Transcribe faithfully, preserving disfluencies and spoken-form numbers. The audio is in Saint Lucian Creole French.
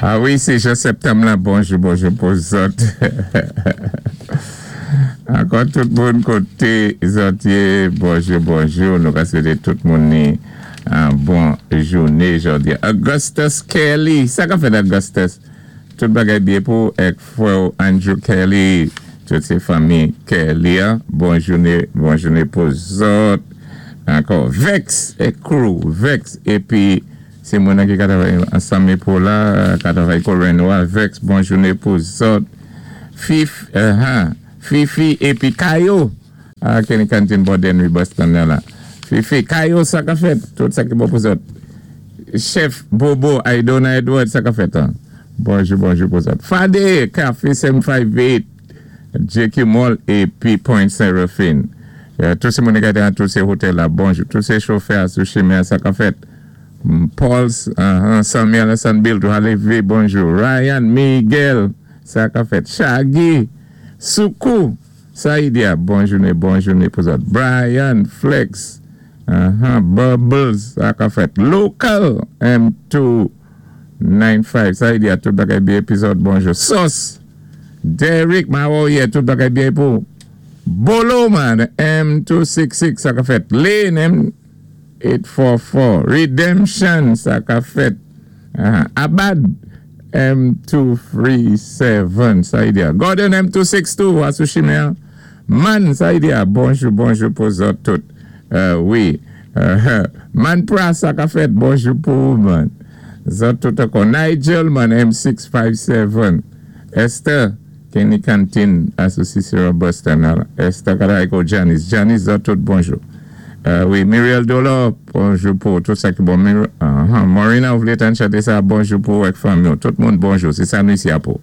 Ah wi, sé jou septanm la, bonjou, bonjou pou zòt. Ankò tout moun koté zòt yé, bonjou, bonjou, nou ka swété tout moun ni an bon jouné jòdi. Augustus Kelly, sa ka fèt Augustus? Tout bagay byen pou èk fwè Andrew Kelly, tout sé fanmi Kelly, an. Bon jouné, bon jouné pou zòt. Ankò, Vex é crew, Vex, épi sé moun ki ka travay ansanm pou la, ka travay kou Renoir, Vex, bon jouné pou zòt. Fif, uh -huh. Fifi épi Kayo, ah, Kenny Canteen Borden Boston la. Fifi, Kayo, sa ka fèt, tout sa ki bon pou zòt. Chef Bobo, Aidona Edward, sa ka fèt, an. Bonjou, bonjou pou zòt. Fade, Café sept cent cinquante-huit, J Q Mall épi Point Seraphine. Euh, tout sé moun ki nan tout sé otèl la, bonjou. Tout sé chofè sou chimen, sa ka fèt. Paul's, uh, Samuel San Bill, tou lévé, bonjou. Ryan Miguel, sa ka fèt. Shaggy, Soukou, Saïdia, bon jouné, bon jouné pou zòt. Brian Flex, uh -huh, Bubbles, sa ka fèt. Local, M two ninety-five, Saïdia, tout bagay byen pou zòt, bonjou. Sauce, Derek Mawoye, tout bagay byen pou. Bolo man, M two sixty-six, sa ka fèt. Lane, M eight forty-four. Redemption, sa ka fèt. Uh, Abad, M two thirty-seven, Saïdia. Gordon M two sixty-two, asou chimen. Man, Saïdia, bonjou, bonjou pou zòt tout. Euh, wi. Uh, man Pras, sa ka fèt, bonjou pou man. Zòt tout ankò. Nigel, man, M six fifty-seven. Esther, Kenny Canteen, Association Boston. Esther Karaiko, Janice. Janice, zòt tout, bonjou. Euh, wi, Muriel Dolo, bonjou pou tout sa ki bon. Mir uh -huh. Marina, ou vlé tann chanté sa, bonjou pou èk fanmi. Tout moun bonjou, sé sa nou isi a pou.